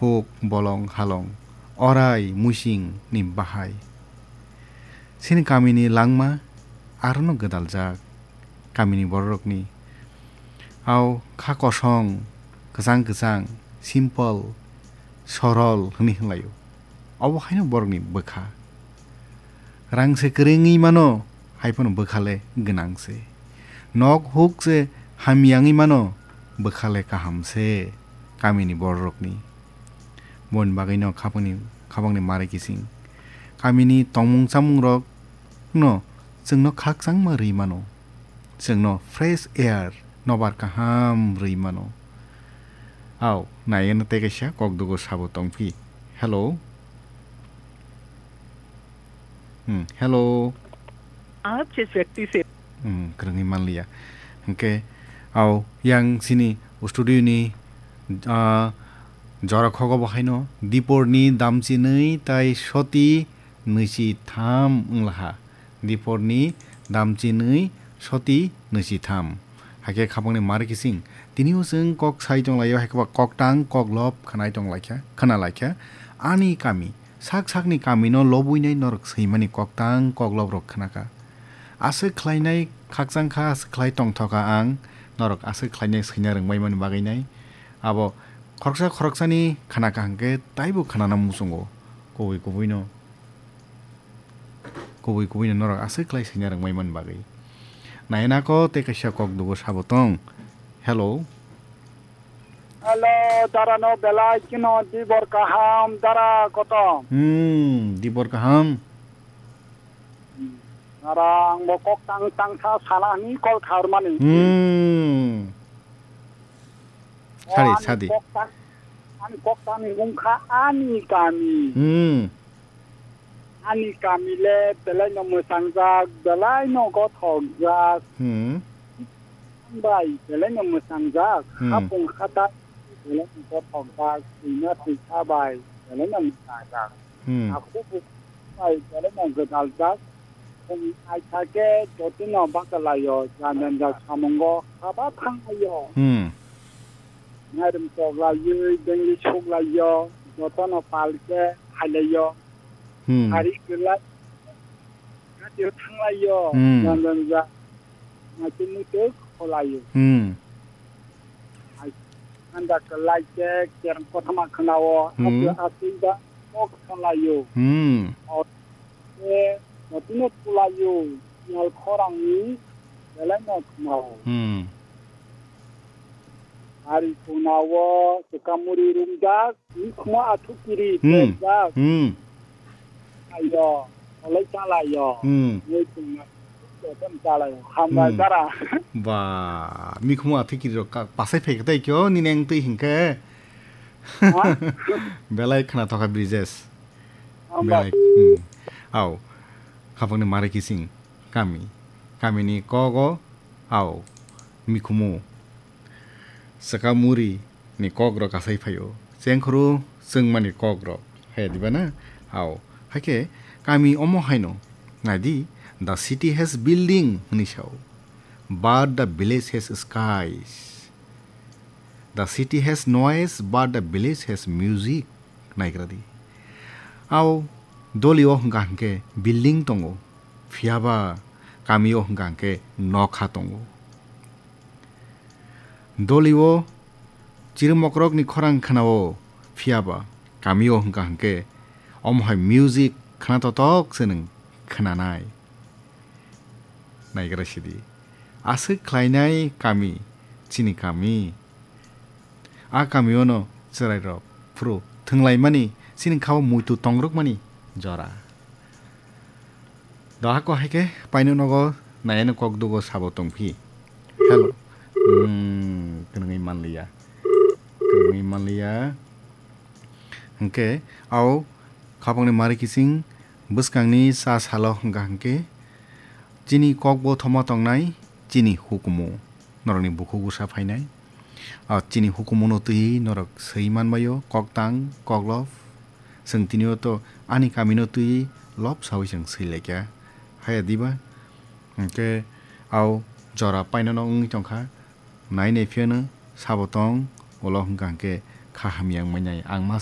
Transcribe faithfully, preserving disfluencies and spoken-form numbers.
huk, bolong, halong, orai, muising ni bahai. Chini kamini langma arono gwdaljak, kamini bororokni. Au kha kosong, kwchang kwchang, simple, sorol hwnwi hwnlaio. Obo haino borokni bwkha. Rang se kwrwngwi mano, hai phano bwkha le gwnang se. Nok huk se hamya wngwi mano, bwkha le kaham se kamini bororokni. Boni bagwino khapangni, khapangni mari kising. Kamini tongmung chamungrok no chwngno khakchangma rwi mano. Chwngno fresh air, nobar kaham rwi mano. Au, naiwino tei kaisa kokdugo sabo tongphi. Hello. Hmm, hello. आप जिस व्यक्ति से Hmm, kwrwngwi manliya. Hwnkhe, au, yang chini studio ni, ah, jora khogo bo haino, Diporni damchinwi tai soti nwichi tham wnglaha. Diporni damchinwi soti nwichi tham. Hakhe khapangni mari kising. Tini o chwng kok sai tonglaio, haikhe ba koktang koklop khanai tonglaikha, khana laikha. Ani kami, sak sakni kamino lobwinai norok swimani koktang kokloprok khnakha. Aswk khlainai khakchangkha, aswk khlai tongthokha ang, norok aswk khlainai swina rwngbaimani bagwinai. Abo khoroksa khoroksani khnakha hwnkhe taibo khnana muchungo kubui kubuino. Kubui kubuino norok aswk khlai swina rwngbaimani bagwi. Nainako tei kaisa kokdugo sabo tong. Hello. Hello, dara no belai kheno dibor kaham, dara kotom. Hmm, dibor kaham. Dara ang bo kok tang tang sa sana ni kol kharmani. Hmm. O Sadi, ani sadi. Kok tang, ani kok tang ni wngkha ani kami. Hmm. Ani kami le belai no mwsangjak, belai no gothokjak. Hmm. Bai belai no mwsangjak, Hmm. hapung hatai belai no gothokjak, twima twisa bai belai no mwsangjak. Hmm. Aku bu bai belai no gwdaljak. Khum aitha khe jotino bachalaio, jang jang jak samungo haba thanglaio. Hmm. Mairum choklaiwi, bengli suklaio, jotono pal khe khailaio. Hmm. Hari kwlai, radio thanglaio, Hmm. jang jang jak. Naitwi muitu kholaio. Hmm. Ai, anda kwlai khe kereng kothoma khwnao, Hmm. aswk aswk ba kok kholaio. Hmm. O, khe, jotino kholaio, yal khorangni belai no khwnao. Hmm. Ari khwnao, swkang muri rumjak, Mikhumo athukiri Hmm. pejak. Hmm. Ayo, olai chalayo. Hmm. Nui tongna. Jotom chalayo. Hambai Hmm. dara. Ba, mikhumo athukiri rok ka-, pasai phai khe tei kyo, nini ang twi hinkhe. Ha? Belai khna thokha Brijesh. Hambai. Belai. Hmm. Au. Khapangni mari kising. Kami. Kamini kogo. Au. Mikhumo. Swkang muri ni kok rok asai phaio. Chengkhoro chwngmani kok rok. Haya diba na? Ao. Haikhe kami omo haino. Naidi, "The city has building," hwnwi sao. "But the village has skies. The city has noise, but the village has music." Naigra di. Ao doli o hwnkha hwnkhe building tongo. Phiyaba kami o hwnkha hwnkhe nokha tongo. Doli o chirimokrokni khorang khna-o, phiyaba kami o hwnkha hwnkhe omo hai music khna totok se nwng khnanai. Naigra sidi. Aswk khlainai kami, chini kami. A kamio no chwrairok phuru thwnglaimani, chini kha-o muitu tongrwkmani jora. Dohako hai khe paino nogo nayano kok dugo sabo tongphi. Hello. Hmm, kwrwngwi manliya. Kwrwngwi manliya. Hwnkhe, ao khapangni mari kising bwskangni cha salo hwnkha hwnkhe, chini kok bo thoma tongnai, chini hukumu. Norokni bukhuk bwsa phainai. A chini hukumuno twi norok swi manbaio, koktang, koklop. Chwng tini o to ani kamino twi lop sawi chwng swi laikha. Haya diba? Hwnkhe ao jora painano wngwi tongkha. Nai nai phiyano sabo tong, ulo hwnkha hwnkhe kha hamya wngmani ang ma